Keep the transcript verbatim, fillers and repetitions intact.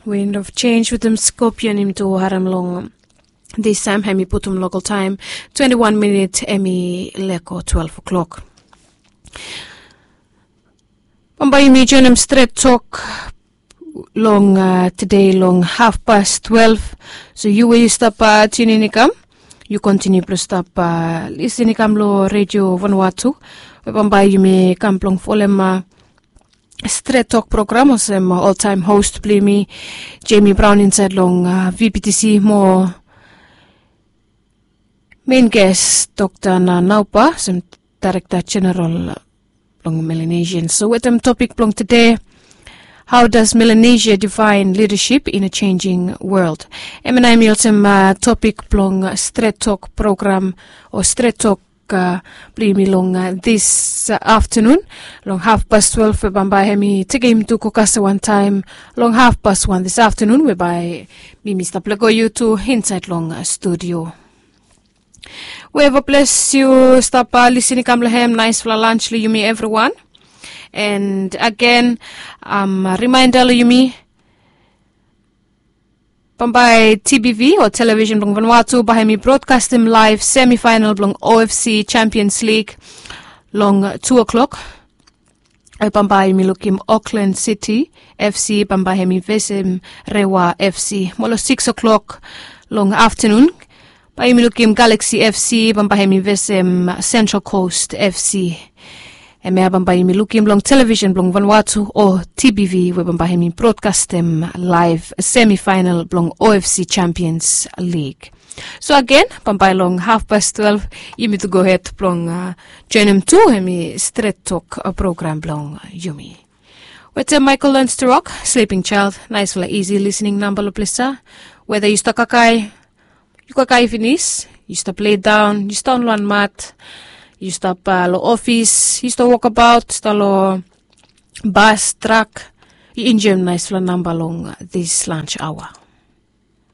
Wind of Change wetem Scorpion yumi tu harem long distaem, hem i putum lokal taem twenti wan minit, hem i leko twelve o'clock. Bambae yumi joenem stret tok long tede long hafpas twelve. So yu we yu stap tiunin i kam, yu kontiniu blong stap lisin i kam long Redio Vanuatu, we bambae yumi kam blong folem stret tok program olsem oltaem host blong yumi, Jemi Braon, insaed long VPTC mo mein ges Dokta Nanaupa olsem Daerekta Jeneral blong Melanesian. So wetem topik blong tede, How does Melanesia define leadership in a changing world? Hemia nao hem i olsem topik blong stret tok program o stret tok blong yumi long dis aftenun, long hafpas twelve, we bambae hem i tekem yumi tu go kasem wantaem long hafpas wan dis aftenun, we bae mi mi stap lego yu tu insaed long studio. Weva ples yu stap lisin i kam long hem, naesfala lans long yumi evriwan. And agen, rimaenda long yumi, bambae TBV o Television blong Vanuatu bae hem i brodkastem laev semifaenal blong OFC Champions League long tu o'clock. Bambae yumi lukim Auckland City FC bambae hem i vesem Rewa FC. Mo long six o'clock long aftenun bae yumi lukim Galaxy FC bambae hem i vesem Central Coast FC. Hemia bambae yumi lukim long Television blong Vanuatu o TBV, we bambae hem i brodkastem laev semifaenal blong OFC Champions League. So agen, bambae long hafpas twelve yumi tu gohed blong joenem tu hemi stret tok program blong yumi. Wetem Michael Learns to Rock, Sleeping Child, naesfala isi lisening namba long ples ia. Weda yu stap kakae, yu kakae finis, yu stap ledaon, yu stap on wan mat, yu stap long ofis, yu stap wokabaot, stap long bas, trak, yu enjoem naesfala namba long dis lans aoa.